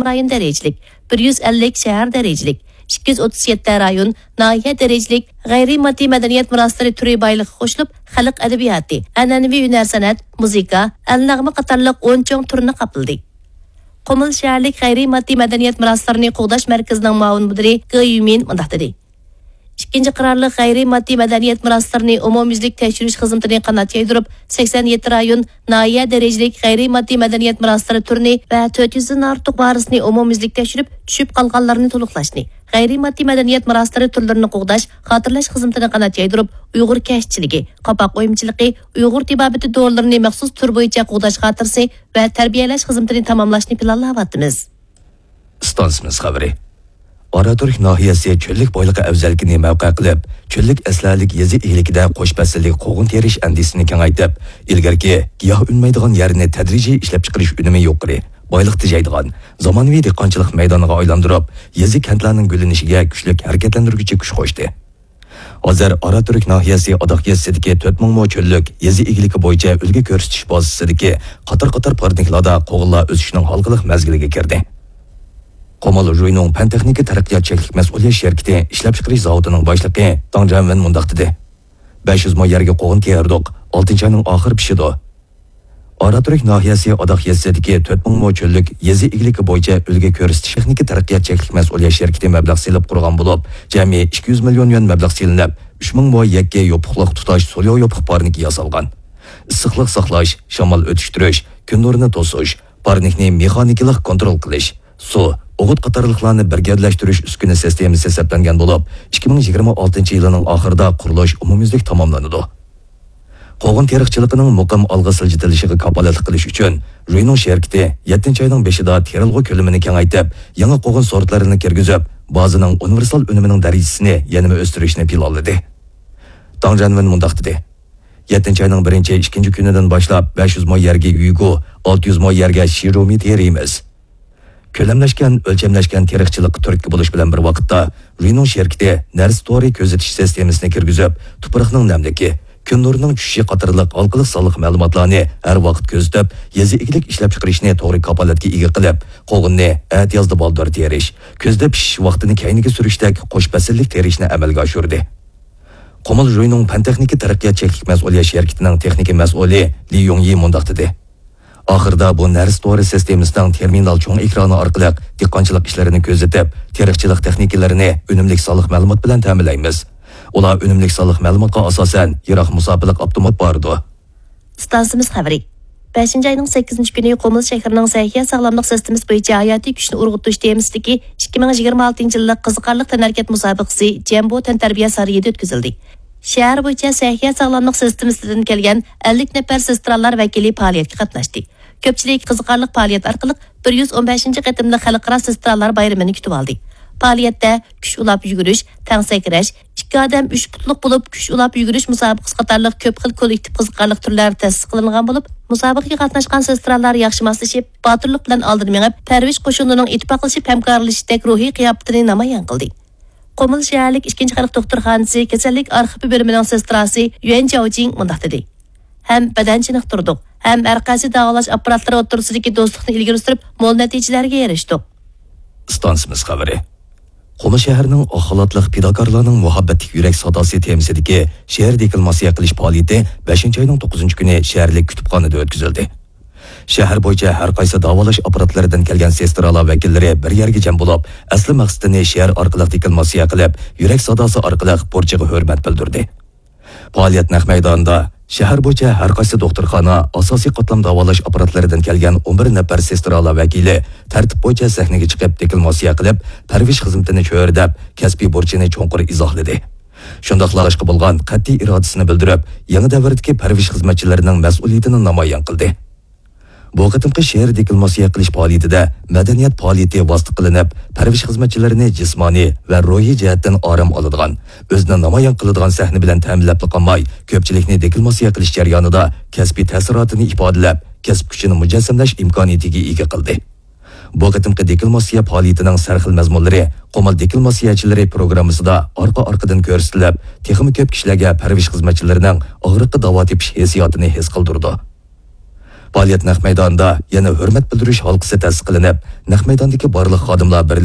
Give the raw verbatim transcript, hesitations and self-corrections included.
رايون دەرىجىلىك، بىر يۈز ئەللىك شەھەر دەرىجىلىك، ئىككى يۈز ئوتتۇز يەتتە رايون، ناھىيە دەرىجىلىك غەيرىي ماددىي مەدەنىيەت مىراسلىرى تۈرى بايلىقى قوشۇلۇپ، خەلق ئەدەبىياتى، ئەنئەنىۋى ھۈنەر سەنئەت، مۇزىكا، ئەلنەغمە قاتارلىق ئون چوڭ تۈرنى قاپلىدى. قۇمۇل شەھەرلىك غەيرىي ماددىي مەدەنىيەت مىراسلىرىنى قوغداش مەركىزىنىڭ مۇئاۋىن مۇدىرى گې يۈمىن مۇنداق دېدى: ئىككىنچى قارارلىق غەيرىي ماددىي مەدەنىيەت مىراسلىرىنى ئومۇميۈزلۈك تەكشۈرۈش خىزمىتىنى قانات يايدۇرۇپ، سەكسەن يەتتە رايون، ناھىيە دەرىجىلىك غەيرىي ماددىي مەدەنىيەت مىراسلىرى تۈرىنى ۋە تۆت يۈزدىن ئارتۇق ۋارىسنى ئومۇميۈزلۈك تەكشۈرۈپ، چۈشۈپ قالغانلارنى تولۇقلاشنى، غەيرىي ماددىي مەدەنىيەت مىراسلىرى تۈرلىرىنى قوغداش، خاتىرىلەش خىزمىتىنى قانات يايدۇرۇپ، ئۇيغۇر كەشتىچىلىكى، قاپاق ئويمىچىلىقى، ئۇيغۇر تېبابىتى دورىلىرىنى مەخسۇس تۈر بويىچە قوغداش خاتىرىسى ۋە تەربىيەلەش خىزمىتىنى تاماملاشنى پىلانلاۋاتىمىز. ئىستانسىمىز خەۋىرى. ئاراتۈرك ناھىيەسى چۆللۈك بايلىقى ئەۋزەللىكىنى مەۋقە قىلىپ، چۆللۈك ئەسلىھەلىك يېزا ئىگىلىكىدە قوش پەسىللىك قوغۇن تېرىش ئەندىزىسىنى كېڭەيتىپ، ئىلگىرىكى گىياھ ئۈنمەيدىغان يەرنى تەدرىجىي ئىشلەپچىقىرىش ئۈنۈمى يۇقىرى، بايلىق تېجەيدىغان، زامانىۋى دېھقانچىلىق مەيدانىغا ئايلاندۇرۇپ، يېزا، كەنتلەرنىڭ گۈللىنىشىگە كۈچلۈك ھەرىكەتلەندۈرگۈچى كۈچ قوشتى. ھازىر ئاراتۈرك ناھىيەسى ئاداق يېزىسىدىكى تۆت مىڭ مو چۆللۈك يېزا ئىگىلىكى بويىچە ئۈلگە كۆرسىتىش بازىسىدىكى قاتار-قاتار پارنىكلاردا قوغۇنلار ئۆسۈشنىڭ ھالقىلىق مەزگىلىگە كىردى. قۇمۇل ژۇينۇڭ پەن-تېخنىكا تەرەققىيات چەكلىك مەسئۇلىيەت شىركىتى ئىشلەپچىقىرىش زاۋۇتىنىڭ باشلىقى داڭ جيەنۋېن مۇنداق دېدى: بەش يۈز مو يەرگە قوغۇن تېرىدۇق، ئالتىنچى ئاينىڭ ئاخىرى پىشىدۇ. ئاراتۈرك ناھىيەسى ئاداق يېزىسىدىكى تۆت مىڭ مو چۆللۈك يېزا ئىگىلىكى بويىچە ئۈلگە كۆرسىتىش تېخنىكا تەرەققىيات چەكلىك مەسئۇلىيەت شىركىتى مەبلەغ سېلىپ قۇرغان بولۇپ، جەمئىي ئىككى يۈز مىليون يۈەن مەبلەغ سېلىنىپ، ئۈچ مىڭ مو يەككە يوپۇقلۇق تۇتاش سولياۋ يوپۇق پارنىكى ياسالغان. ئىسسىقلىق ساقلاش، شامال ئۆتۈشتۈرۈش، كۈن نۇرىنى توسۇش، پارنىكنى مېخانىكىلىق كونترول قىلىش، سۇ، ئوغۇت قاتارلىقلارنى بىر گەۋدىلەشتۈرۈش ئۈسكۈنە سىستېمىسى سەپلەنگەن بولۇپ، ئىككى مىڭ يىگىرمە ئالتىنچى يىلىنىڭ ئاخىرىدا قۇرۇلۇش ئومۇميۈزلۈك تاماملىنىدۇ. قوغۇن تېرىقچىلىقىنىڭ مۇقىم ئالغا سىلجىتىلىشىغا كاپالەتلىك قىلىش ئۈچۈن، ژۇينىڭ شىركىتى يەتتىنچى ئاينىڭ بېشىدا تېرىلغۇ كۆلىمىنى كېڭەيتىپ، يېڭى قوغۇن سورتلىرىنى كىرگۈزۈپ، بازىنىڭ ئۇنىۋېرسال ئۈنۈمىنىڭ دەرىجىسىنى يەنىمۇ ئۆستۈرۈشنى پىلانلىدى. داڭ جيەنۋېن مۇنداق دېدى: يەتتىنچى ئاينىڭ بىرىنچى، ئىككىنچى كۈنىدىن باشلاپ بەش يۈز مو يەرگە يۈگۇ، ئالتە يۈز مو يەرگە شىرومى تېرىيمىز. كۆلەملەشكەن، ئۆلچەملەشكەن تېرىقچىلىققا تۈرتكە بولۇش بىلەن بىر ۋاقىتتا، ژۇينىڭ شىركىتى نەرسە تورى كۆزىتىش سىستېمىسىنى كىرگۈزۈپ، تۇپراقنىڭ نەملىكى، كۈن نۇرىنىڭ چۈشۈشى قاتارلىق ھالقىلىق سانلىق مەلۇماتلارنى ھەر ۋاقىت كۆزىتىپ، يېزا ئىگىلىك ئىشلەپچىقىرىشنى توغرا كاپالەتكە ئىگە قىلىپ، قوغۇننى ئەتىيازدا بالدۇر تېرىش، كۈزدە پىشىش ۋاقتىنى كەينىگە سۈرۈشتەك قوش پەسىللىك تېرىشنى ئەمەلگە ئاشۇردى. قۇمۇل ژۇينىڭ پەن-تېخنىكا تەرەققىيات چەكلىك مەسئۇلىيەت شىركىتىنىڭ تېخنىكا مەسئۇلى لى يۇڭيى مۇنداق دېدى: ئاخىرىدا بۇ نەرسە تورى سىستېمىسىنىڭ تېرمىنال چوڭ ئېكرانى ئارقىلىق دېھقانچىلىق ئىشلىرىنى كۆزىتىپ، تېرىقچىلىق تېخنىكىلىرىنى ئۈنۈملۈك سانلىق مەلۇمات بىلەن تەمىنلەيمىز. ئۇلار ئۈنۈملۈك سانلىق مەلۇماتقا ئاساسەن يىراق مۇساپىلىق ئاپتومات بارىدۇ. ئىستانسىمىز خەۋىرى. بەشىنچى ئاينىڭ سەككىزىنچى كۈنى قۇمۇل شەھىرىنىڭ سەھىيە ساغلاملىق سىستېمىسى بويىچە ھاياتىي كۈچنى ئۇرغۇتۇش تېمىسىدىكى ئىككى مىڭ يىگىرمە ئالتىنچى يىللىق قىزىقارلىق تەنھەرىكەت مۇسابىقىسى جەمبو تەنتەربىيە سارىيىدا ئۆتكۈزۈلدى. شەھەر بويىچە سەھىيە ساغلاملىق سىستېمىسىدىن كەلگەن ئەللىك نەپەر سېسترالار ۋەكىلى پائالىيەتكە قاتناشتى. كۆپچىلىك قىزىقارلىق پائالىيەت ئارقىلىق بىر يۈز ئون بەشىنچى قېتىملىق خەلقئارا سېسترالار بايرىمىنى كۈتۈۋالدى. پائالىيەتتە كۈچ ئۇلاپ يۈگۈرۈش، تەڭ سەكرەش، ئىككى ئادەم ئۈچ پۇتلۇق بولۇپ كۈچ ئۇلاپ يۈگۈرۈش مۇسابىقىسى قاتارلىق كۆپ خىل كوللېكتىپ قىزىقارلىق تۈرلەر تەسىس قىلىنغان بولۇپ، مۇسابىقىگە قاتناشقان سېسترالار ياخشى ماسلىشىپ، باتۇرلۇق بىلەن ئالدىن مېڭىپ، پەرۋىش قوشۇنىنىڭ ئىتتىپاقلىشىپ ھەمكارلىشىشتەك روھىي قىياپىتىنى نامايان قىلدى. قۇمۇل شەھەرلىك ئىككىنچى خەلق دوختۇرخانىسى كېسەللىك ئارخىپى بۆلۈمىنىڭ سېستراسى يۈەن جياۋجىڭ مۇنداق دېدى: ھەم بەدەن چېنىقتۇردۇق، ھەم ھەر قايسى داۋالاش ئاپپاراتلىرى ئوتتۇرىسىدىكى دوستلۇقنى ئىلگىرى سۈرۈپ، مول نەتىجىلەرگە ئېرىشتۇق. ئىستانسىمىز خەۋىرى. قۇمۇل شەھىرىنىڭ ئاق خالاتلىق پىداكارلارنىڭ مۇھەببەتلىك يۈرەك ساداسى تېمىسىدىكى شېئىر دېكلاماتسىيە قىلىش پائالىيىتى بەشىنچى ئاينىڭ توققۇزىنچى كۈنى شەھەرلىك كۇتۇپخانىدا ئۆتكۈزۈلدى. شەھەر بويىچە ھەر قايسى داۋالاش ئاپپاراتلىرىدىن كەلگەن سېسترالار ۋەكىللىرى بىر يەرگە جەم بولۇپ، ئەسلى مەقسىتىنى شېئىر ئارقىلىق دېكلاماتسىيە قىلىپ، يۈرەك ساداسى ئارقىلىق بۇرچىغا ھۆرمەت بىلدۈردى. پائالىيەت نەق مەيدانىدا شەھەر بويىچە ھەر قايسى دوختۇرخانا، ئاساسىي قاتلام داۋالاش ئاپپاراتلىرىدىن كەلگەن ئون بىر نەپەر سېسترالار ۋەكىلى تەرتىپ بويىچە سەھنىگە چىقىپ، دېكلاماتسىيە قىلىپ، پەرۋىش خىزمىتىنى چۆرىدەپ، كەسپىي بۇرچىنى چوڭقۇر ئىزاھلىدى. شۇنداقلا ئىشقا بولغان قەتئىي ئىرادىسىنى بىلدۈرۈپ، يېڭى دەۋردىكى پەرۋىش خىزمەتچىلىرىنىڭ مەسئۇلىيىتىنى نامايان قىلدى. بۇ قېتىمقى شېئىر دېكلاماتسىيە قىلىش پائالىيىتىدە مەدەنىيەت پائالىيىتى ۋاسىتە قىلىنىپ، پەرۋىش خىزمەتچىلىرىنى جىسمانىي ۋە روھىي جەھەتتىن ئارام ئالىدىغان، ئۆزىنى نامايان قىلىدىغان سەھنە بىلەن تەمىنلەپلا قالماي، كۆپچىلىكنى دېكلاماتسىيە قىلىش جەريانىدا كەسپىي تەسىراتىنى ئىپادىلەپ، كەسىپ كۈچىنى مۇجەسسەملەش ئىمكانىيىتىگە ئىگە قىلدى. بۇ قېتىمقى دېكلاماتسىيە پائالىيىتىنىڭ سەرخىل مەزمۇنلىرى قۇمۇل دېكلاماتسىيەچىلىرى پروگراممىسىدا ئارقا-ئارقىدىن كۆرسىتىلىپ، تېخىمۇ كۆپ كىشىلەرگە پەرۋىش خىزمەتچىلىرىنىڭ ئاغرىققا داۋا تېپىش ھېسسىياتىنى ھېس قىلدۇرىدۇ. پائالىيەت نەق مەيدانىدا يەنە ھۆرمەت بىلدۈرۈش ھالقىسى تەسىس قىلىنىپ، نەق مەيداندىكى بارلىق خادىملار بىر